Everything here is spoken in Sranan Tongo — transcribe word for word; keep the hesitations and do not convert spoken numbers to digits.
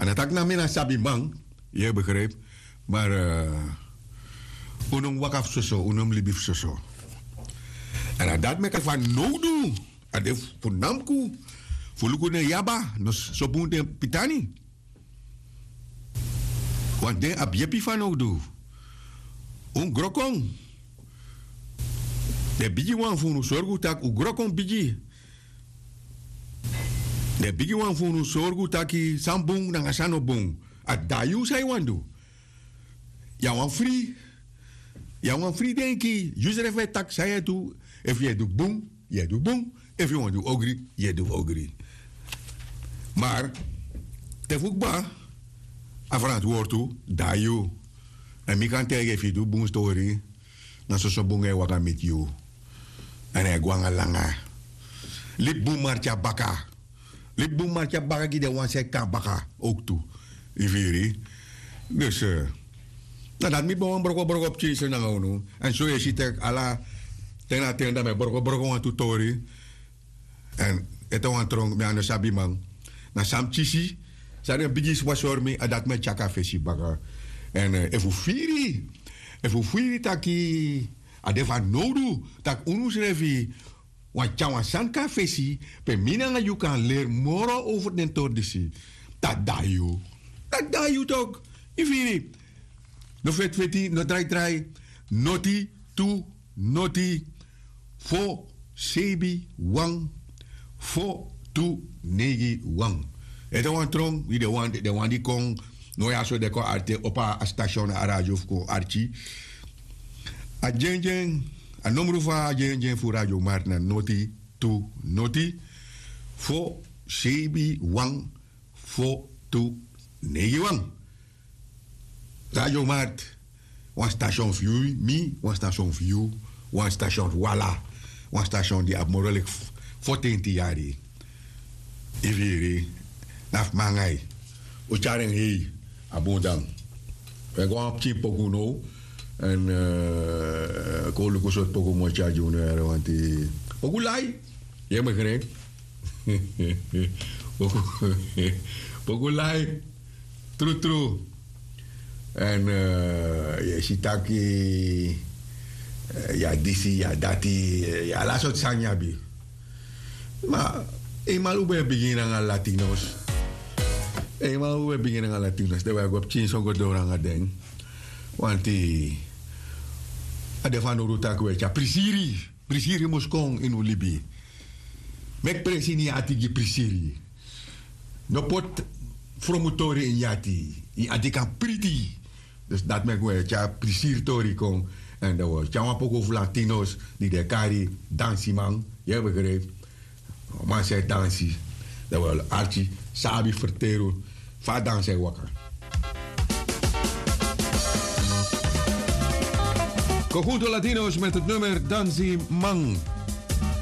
En a taki na mi na sabiman, yu e begrijpi. Maar un no mus waka fu soso, un no mus libi fu soso. En a dati meki a fanowdu, a de fu namku fu luku den yaba no so bun den pitani. Want den abi yepi fanowdu. Un gro kon. Den bigi wan fu unu sorgu tak' un gro kon bigi. Den bigi wan fu unu sorgu taki san bun nanga san no bun. A dayu san yu wani du. Yu a wan fri. Yu a wan fri denki yu srefi e taki san yu e du. Efu yu e du bun, yu e du bun. Efu yu wani du ogri, yu e du ogri. Mar te fu kba a frantwortu dayu. Èn mi kan taigi efu yu du bun stori, na soso bun e waka miti yu. Èn a e go nanga langa. Libi bun marki a baka. Libi bun marki a baka gi den wan san e kon na baka owktu. Yu firi? Dus na dati mi ben wani brokobroko pikinso nanga unu. Èn so yu e si tak' ala ten na ten dan mi e brokobroko wantu tori. Èn ete wan tron mi a no sabi man. Na san mi kisi san den bigi sma sori mi a dati mi e tyaki a fesi baka. Èn efu firi efu firi taki a de fanowdu tak' unu srefi wani tyari wan sani kon na fesi pe mi nanga yu kan leri moro over den tori disi. Dati de na yu. Dati de na yu toki. Yu firi? No feti feti no drai drai. Noti tu noti fo sebi wan fo tu neigi wan. Ete wan tron wi den wan di kon no ya so den kon arti opo a station na a radio fu kon arki. A dyendyen a nomru fu a dyendyen fu radio marti na noti tu noti fo sebi wan fo tu neigi wan. Radio marti wan station fu yu mi wan station fu yu wan station fu ala wan station di abi moro leki fotenti yari. Yu firi? Na fu mangai. Un tyari en hei. A bun dan. Wi e go na wan pikin poku now. Èn kon luku sortu poku mi o tyari gi unu yari wanti poku lai. Yu e begrijpi? Poku lai. Trutru. Èn yu e si taki yu a disi yu a dati. Yu a ala sortu sani yu abi. Ma einmal un ben e bigin nanga latinos. Einmal un ben e bigin nanga latinos dan wi e go pikinso go doro nanga den. Wanti a de fanowdu tak' wi e tyari prisiri. Prisiri mus kon ini un libi. Meki presi ini yu ati gi prisiri. No poti fromutori ini yu ati. Yu ati kan priti. Dus dati meki un e tyari prisiri tori kon. Èn dan wi o tyari wan poku fu latinos di den e kari dansiman. Yu e begrijpi? Wan man san e dansi. Dan wi o arki san a abi ferteri unu fa a dansi e waka. Conjunto Latinos met het nummer Dansiman.